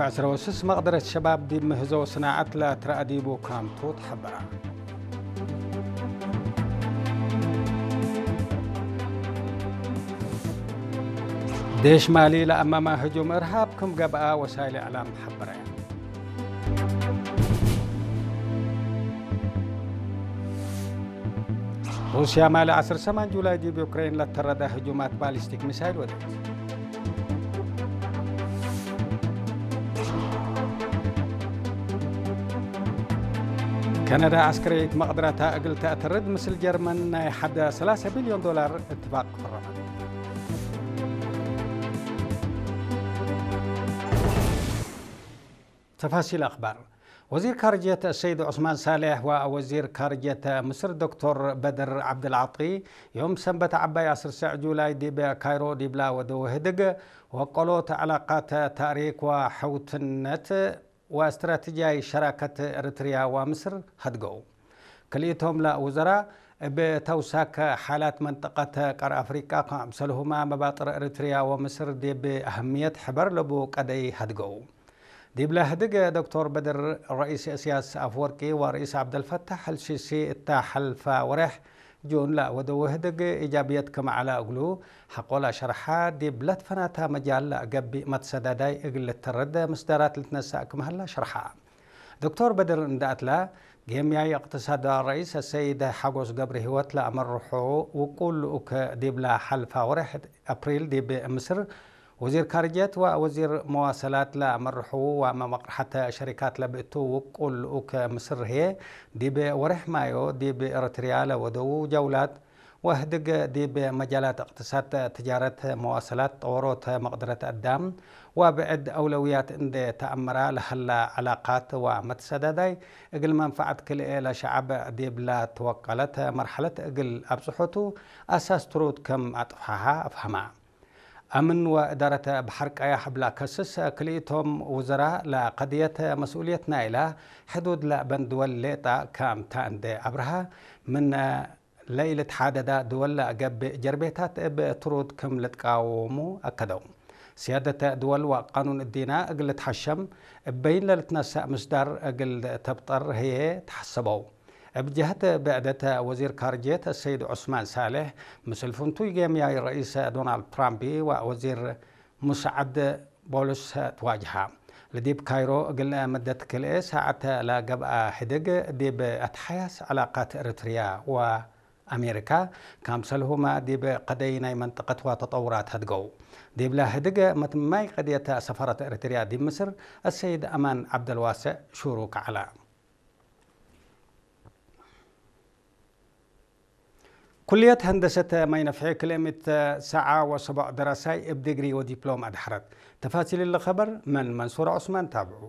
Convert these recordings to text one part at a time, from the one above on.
ዕስራ ወስስ መቕደረት ሸባብ ዲብ ምህዞ ስናዓት ለትረኣዲቡ ካምቱ ተሐበራ። ዴሽ ማሊ ለአማማ ህጁም እርሃብ ክም ገብአ ወሳይል እዕላም ሐበረ። ሩስያ ማሊ ዐስር ሰማን ጁላይ ዲብ ዩክሬን ለተረደ ህጁማት ባሊስቲክ ሚሳይል ወደት። ከነዳ ዐስከርየት መቕድረታ እግል ተእተርድ ምስል ጀርመን ናይ ሐደ ሰላሳ ቢልዮን ዶላር እትፋቅ ፈረመት። ተፋሲል አኽባር። ወዚር ካርጅየት ሰይድ ዑስማን ሳሌሕ ወወዚር ካርጅየት ምስር ዶክቶር በድር ዓብደልዓጢ ዮም ሰንበት ዓባይ ዐስር ሰዕ ጁላይ ዲብ ካይሮ ዲብላ ወደው ህድግ ወቀሎት ዕላቃት ታሪክ ወሐውትነት ወእስትራቴጂያይ ሸራከት ኤርትርያ ወምስር ሀድገው። ክልኢቶም ለውዘራ እብ ተውሳክ ሓላት መንጠቀት ቀር አፍሪቃ ከምሰልሁማ መባጥር ኤርትርያ ወምስር ዲብ አህምየት ሕበር ለቡ ቀደይ ሀድገው። ዲብለ ህድግ ዶክቶር በድር ረኢስ እስያስ አፍወርቂ ወረኢስ ዓብደልፈታሕ አልሲሲ እታ ሐልፋ ወሬሕ ጁን ለወደው ህድግ ኢጃብየት ክም ዐለ እግሉ ሐቆ ለሸርሐ ዲብ ለትፈናታ መጃል ለገብእ መትሰዳዳይ እግል ልትረድ ምስዳራት ልትነሳእ ክም ሀላ ሸርሐ። ዶክቶር በድር እንዳ እትላ ጌምያይ እቅትሳድ ረኢስ ሰይድ ሓጎስ ገብረሂወት ለአመርሑ ውቁል ልኡክ ዲብላ ሐልፋ ወርሕ አፕሪል ዲብ ምስር ወዚር ካርጀት ወወዚር መዋሰላት ለአመርሑ ወመመቅርሐተ ሸሪካት ለብእቱ ውቁል ልኡክ ምስር ህዬ ዲብ ወርሕ ማዮ ዲብ ኤረትርያ ለወደዉ ጀውላት ወህድግ ዲብ መጃላት እቅትሳድ፣ ትጃረት፣ መዋሰላት፣ ጠወሮት መቅደረት አዳም ወብዕድ አውለውያት እንዴ ተአመራ ለሀላ ዕላቃት ወመትሰዳዳይ እግል መንፈዐት ክልኤ ለሸዐብ ዲብላ ትወቀለት መርሐለት እግል አብጽሖቱ አሳስ ትሩድ ክም አጥፍሐሃ አፍሀማ። አምን ወእዳረት በሐር ቀያሕ እብላ ከስስ ክልኢቶም ውዘራ ለቀድየት መስኡልየት ናይላ ሕዱድ ለአበን ድወል ሌጣ ከምታ እንዴ አብርሃ ምን ለኢልትሓደዳ ድወል ለገብእ ጀርቤታት እብ ትሩድ ክም ልትቃወሙ አከደው። ስያደተ ድወል ወቃኑን እዲና እግል ልትሐሸም እበይን ለልትነሰእ ምስዳር እግል ተብጠር ህዬ ተሐሰበው። እብ ጀህት ብዕደተ ወዚር ካርጅየት ሰይድ ዑስማን ሳልሕ ምስል ፍንቱይ ጌምያይ ረኢስ ዶናልድ ትራምፕ ወወዚር ሙስዓድ ቦሉስ ትዋጅሃ። ለዲብ ካይሮ እግል መደት ክልኤ ሳዕት ለገብአ ህድግ ዲብ አትሓያስ ዕላቃት ኤርትርያ ወ አሜሪካ፣ ካምሰልሁመ ዲብ ቀደይ ናይ መንጠቀት ወተጠውራት ሀድገው። ዲብለ ህድግ መትማይ ቀድየት ሰፋረት ኤርትርያ ዲብ ምስር አሰይድ አማን ዓብደልዋስዕ ሹሩክ ዐለ። ኩልየት ሀንደሰት ማይ ነፍሒ ክልኤ ምእት ሰዓ ወሰቦዕ ደራሳይ እብ ዲግሪ ወዲፕሎም አድሐረት። ተፋሲል እሊ ኸበር መን መንሱር ዑስማን ታብዑ።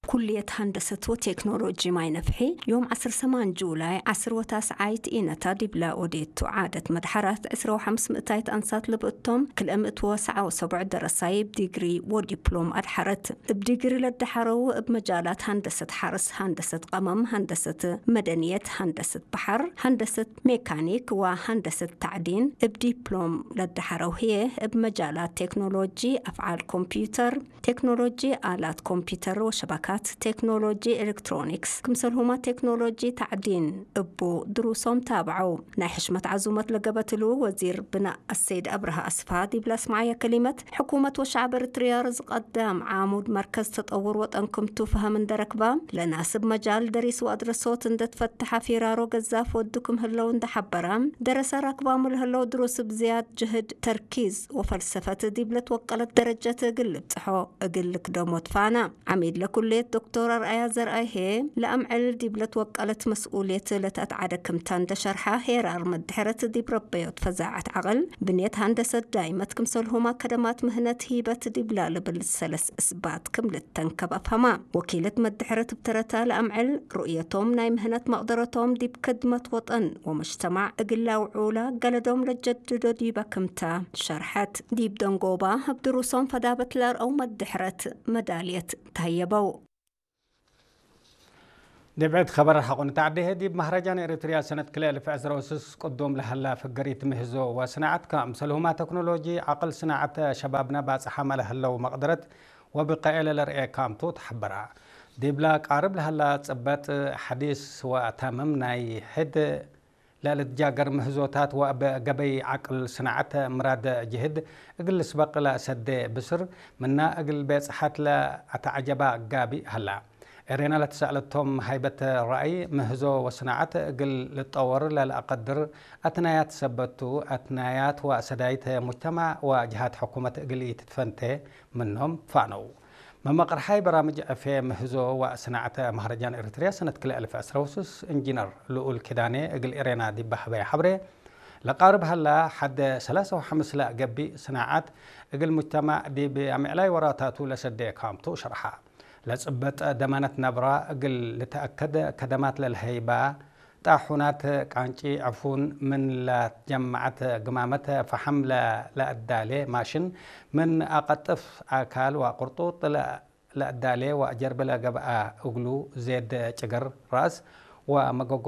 ኩልየት ሀንደሰት ወቴክኖሎጂ ማይ ነፍሒ ዮም ዐስር ሰማን ጁላይ ዐስር ወታስዓይት ኢነታ ዲብላ ኦዴቱ ዓደት መድሐራት ዕስራ ወሐምስ ምእታይት አንሳት ልብእቶም ክልኤ ምእት ወሰዓ ወሰቦዕ ደረሳይ እብ ዲግሪ ወዲፕሎም አድሐረት። እብ ዲግሪ ለደሐረው እብ መጃላት ሀንደሰት ሐርስ፣ ሀንደሰት ቀመም፣ ሀንደሰት መደንየት፣ ሀንደሰት በሐር፣ ሀንደሰት ሜካኒክ ወሀንደሰት ታዕዲን እብ ዲፕሎም ለደሐረው ህዬ እብ መጃላት ቴክኖሎጂ አፍዓል ኮምፒዩተር፣ ቴክኖሎጂ አላት ኮምፒተር ወሸበካት፣ ቴክኖሎጂ ኤሌክትሮኒክስ፣ ክምሰልሁማ ቴክኖሎጂ ታዕዲን እቡ ድሩሶም ታብዐው። ናይ ሕሽመት ዓዙመት ለገበትሉ ወዚር ብናእ አሰይድ አብርሃ አስፋ ዲብላ አስመዓያ ከሊመት፣ ሕኩመት ወሸዕብ ኤርትርያ ርዝቀ አዳም ዓሙድ መርከዝ ተጠውር ወጠን ክምቱ ፈሀም እንደረክባ፣ ለናስብ መጃል ደሪስ ወአድረሶት እንደትፈትሐ ፊራሮ ገዛፍ ወዱ ክም ህለው እንደሐበራ፣ ደረሰ ራክባሙ ለህለው ድሩስ ብዝያድ ጅህድ፣ ተርኪዝ ወፈልሰፈት ዲብለ ትወቀለት ደረጀት እግል ልብጽሖ እግል ልክደሞ ትፋና። ዓሚድ ለኩልየት ዶክቶር አርአያ ዘርአይ ሄ፣ ለአምዕል ዲብለ ትወቀለት መስኡልየት ለተአትዓደ ክምታ እንደሸርሐ፣ ሄራር መድሕረት ዲብ ረበዮት ፈዛዐት ዐቅል፣ ብንየት ሀንደሰት ዳይመት ክምሰልሁም አከደማት ምህነት ሂበት ዲብላ ልብል ሰለስ እስባት ክም ልተንከብ አፍሀማ። ወኪለት መድሕረት እብ ተረታ ለአምዕል ሩእየቶም ናይ ምህነት መቅደረቶም ዲብ ከድመት ወጠን ወመጅተማዕ እግል ለአውዑላ ገለዶም ለጀድዶ ዲበ ክምታ ሸርሐት። ዲብ ደንጎባ እብ ድሩሶም ፈዳበት ለአርአው መድሕረት መዳልየት ተህየበው። ድብዕት ኸበር ሓቑን ተዓዴ ዲብ ማህረጃን ኤሪትርያ ሰነት ክልኤ እልፍ ዕስራ ወስስ ቅዱም ለሀላ ፍግሪት ምህዞ ወስናዓት ከኣምሰልሁማ ተክኖሎጂ ዓቕል ስናዓት ሸባብና ባጽሓ መለህለው መቕደረት ወብቀኤለ ለርኤ ካምቱ ተሓበራ። ዲብላ ቃርብ ለሀላ ጽበጥ ሓዲስ ወታምም ናይ ሕድ ለልትጃገር ምህዞታት ወበገበይ ዓቅል ስናዓት ምራድ ጅህድ እግል ልስበቅ ለሰዴ ብስር ምና እግል ቤጽሓት ለአተዓጀባ ጋቢ ሀላ። ኤሬና ለተሳእለቶም ሃይበት ረአይ ምህዞ ወስናዓት እግል ልጠወር ለልአቀድር አትናያት ሰበቱ አትናያት ወሰዳይት ሙጅተማዕ ወጅሃት ሕኩመት እግል ኢትትፈንቴ ምኖም ፋነው። መመቕርሓይ በራምጅ ዕፌ ምህዞ ወስናዕተ ማህረጃን ኤሪትርያ ሰነት ክልኤ እልፍ ዕስራ ወስስ እንጂነር ልኡል ኪዳኔ እግል ኤሬና ዲብ ሀበየ ሐብሬ፣ ለቃርብ ሀላ ሐደ ሰላሳ ወሐምስ ለገብእ ስናዓት እግል ሙጅተማዕ ዲብ አምዕላይ ወራታቱ ለሰዴ ካምቱ ሸርሓ። ለጽበጥ ደማነት ነብራ እግል ልተአከድ ከደማት ለልሀይባ ጣሑናት ቃንጪ ዕፉን ምን ለትጀመዐት ግማመት ፈሐም ለለአዳሌ ማሽን ምን አቀጥፍ አካል ወቅርጡጥ ለአዳሌ ወጀርብ ለገብአ እግሉ ዜድ ጭግር ራስ ወመገጎ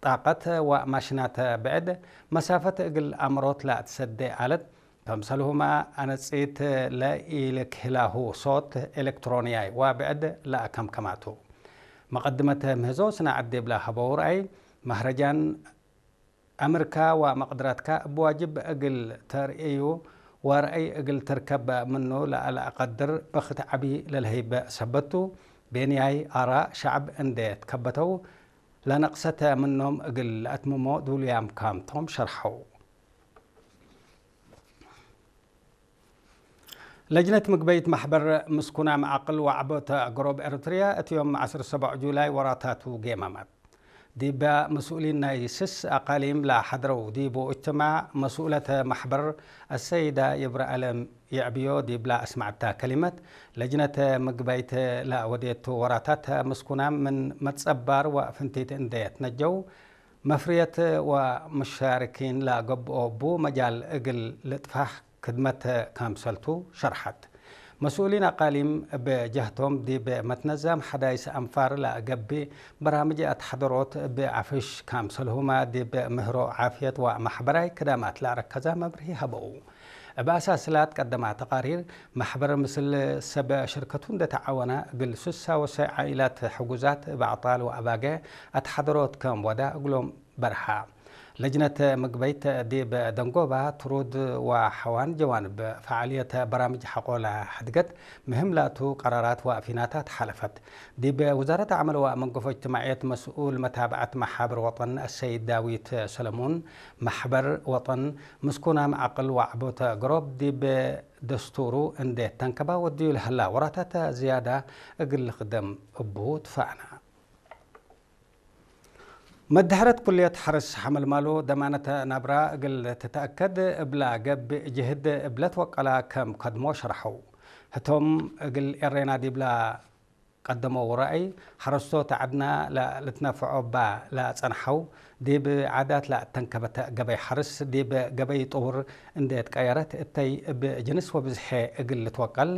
ጣቀት ወማሽናት ብዕድ መሳፈት እግል አምሮት ለአትሰዴ አለት ከምሰልሁማ አነጺት ለኢልክህላሁ ሶት ኤሌክትሮንያይ ወብዕድ ለአከምከማቱ። መቀድመት ምህዞ ስናዕት ዲብላ ሀበው ረአይ፣ ማህረጃን አምርካ ወመቅድራትካ እብ ዋጅብ እግል ተርእዩ ወረአይ እግል ትርከብ ምኑ ለአለአቀድር በክት ዐቢ ለልሀይበ ሰበቱ፣ ቤንያይ አራእ ሸዕብ እንዴ ትከበተው ለነቅሰተ ምኖም እግል ለአትምሞ ዱልያም ካምቶም ሸርሐው። ለጅነት ምግበይት ማሕበር ምስኩና መዓቅል ወዓቦተ ገሮብ ኤርትርያ እቲ ዮም ዐስር ሰቡዕ ጁላይ ወራታቱ ጌማማት ዲበ መስኡሊን ናይ ስስ አቃሊም ለሐድረው ዲቡ እጅትማዕ መስኡለተ ማሕበር አሰይዳ ይብረአለም የዕብዮ ዲብላ አስማዕታ ከሊመት፣ ለጅነት ምግበይት ለወዴቱ ወራታት ምስኩና ምን መትጸባር ወፍንቲት እንዴ ትነጀው፣ መፍርየት ወመሻርኪን ለገብኦ ቡ መጃል እግል ልጥፋሕ ክድመት ካምሰልቱ ሸርሐት። መስኡሊን አቃሊም እብ ጀህቶም ዲብ መትነዛም ሐዳይስ አንፋር ለገብእ በራምጅ አትሐደሮት እብ አፍሽ ካምሰልሁማ ዲብ ምህሮ ዓፍየት ወማሕበራይ ክዳማት ለአረከዛ መብርሂ ሀበው። እብ አሳስላት ቀደማ ተቃሪር፣ ማሕበር ምስል ሰብ ሽርከቱ እንደ ተዓወና እግል ስሳ ወሰ ዓኢላት ሕጉዛት እብ አዕጣል ወአባገ አትሐደሮት ከም ወዳ እግሎም በርሃ። ለጅነት ምግበይት ዲብ ደንጎባ ትሩድ ወሐዋን ጀዋንብ ፈዓልየት በራምጅ ሐቆ ለሐድገት ምህም ላቱ ቀራራት ወፊናታት ሐለፈት። ዲብ ውዛረት አዕመል ወመንገፎ እጅትማዕየት መስኡል መታብዐት መሓብር ወጠን አሰይድ ዳዊት ሰለሙን፣ ማሕበር ወጠን ምስኩናም ዓቅል ወዓቦተ ገሮብ ዲብ ደስቱሩ እንዴ ተንከባ ወድዩ ለሀላ ወራታት ዝያዳ እግል ልክደም እቡ ትፋእና። መድሕረት ኩልየት ሐርስ ሐመልማሎ ደማነተ ናብራ እግል ትተአከድ እብላ ገብእ ጅህድ እብለት ወቀላ ከም ከድሞ ሸርሐው። ህቶም እግል ኤሬና ዲብላ ቀደሞ ወራእይ ሐረስቶት ዐድና ለልትነፍዖ እባ ለአጸንሐው፣ ዲብ ዓዳት ለአተንከበተ ገበይ ሐርስ ዲብ ገበይ ጥውር እንዴ ትቀየረት እተይ እብ ጅንስ ወብዝሐ እግል ልትወቀል፣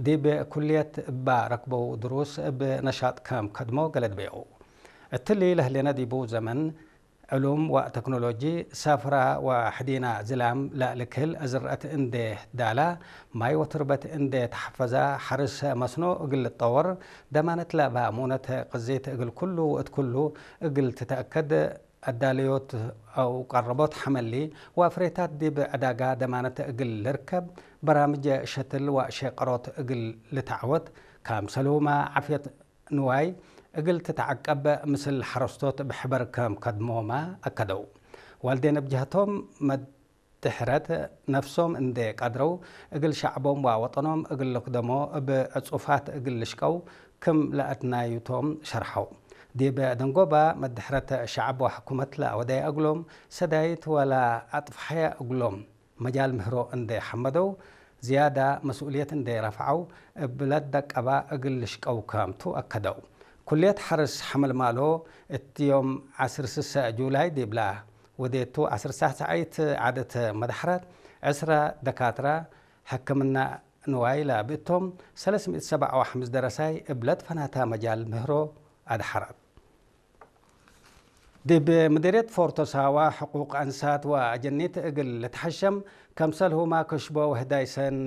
ዲብ ኩልየት እባ ረክበው ድሩስ እብ ነሻጥ ከም ከድሞ ገለድበየው። እትሊ ለህሌነ ዲቡ ዘመን ዕሉም ወተክኖሎጂ፣ ሰፍራ ወሕዲና ዝላም ለልክህል ዝርአት እንዴ ዳላ፣ ማይ ወትርበት እንዴ ተሐፈዛ፣ ሐርስ መስኖ እግል ልጠወር፣ ደማነት ለባሙነት ቅዜት እግል ኩሉ ወእት ኩሉ እግል ትተአከድ፣ አዳለዮት አው ቀረቦት ሐመሊ ወፍሬታት ዲብ ዕዳጋ ደማነት እግል ልርከብ፣ በራምጅ ሸትል ወሼቀሮት እግል ልተዐወት፣ ካምሰልሁማ ዓፍየት ንዋይ እግል ትትዓቀብ ምስል ሐረስቶት ብሕበር ከም ከድሞማ አከደው። ዋልዴን እብ ጀህቶም መድሕረት ነፍሶም እንዴ ቀድረው እግል ሸዕቦም ወወጠኖም እግል ልክደሞ እብ ዕጹፋት እግል ልሽቀው ክም ለአትናዩቶም ሸርሐው። ዲብ ደንጎባ መድሕረት ሸዕብ ወሕኩመት ለአወደየ እግሎም ሰዳይት ወለአጥፍሐየ እግሎም መጃል ምህሮ እንዴ ሐመደው፣ ዝያዳ መስኡልየት እንዴ ረፍዐው፣ እብ ለትደቀባ እግል ልሽቀው ከምቱ አከደው። ኩልየት ሐርስ ሐመልማሎ እት ዮም ዐስር ስሰ ጁላይ ዲብላ ወዴቱ ዐስር ሳዕ ሰዓይት ዓደት መድሐራት፣ ዕስራ ደካትራ፣ ሕክምና ንዋይ ለብእቶም፣ ሰለስ ምእት ሰብዓ ወሐምስ ደረሳይ እብ ለትፈናታ መጃል ምህሮ ኣድሓራት ዲብ ምድርየት ፎርቶ ሳዋ ሕቁቅ ኣንሳት ወኣጀኒት እግል ልትሐሸም ከምሰልሁማ ክሽቦ ወህዳይሰን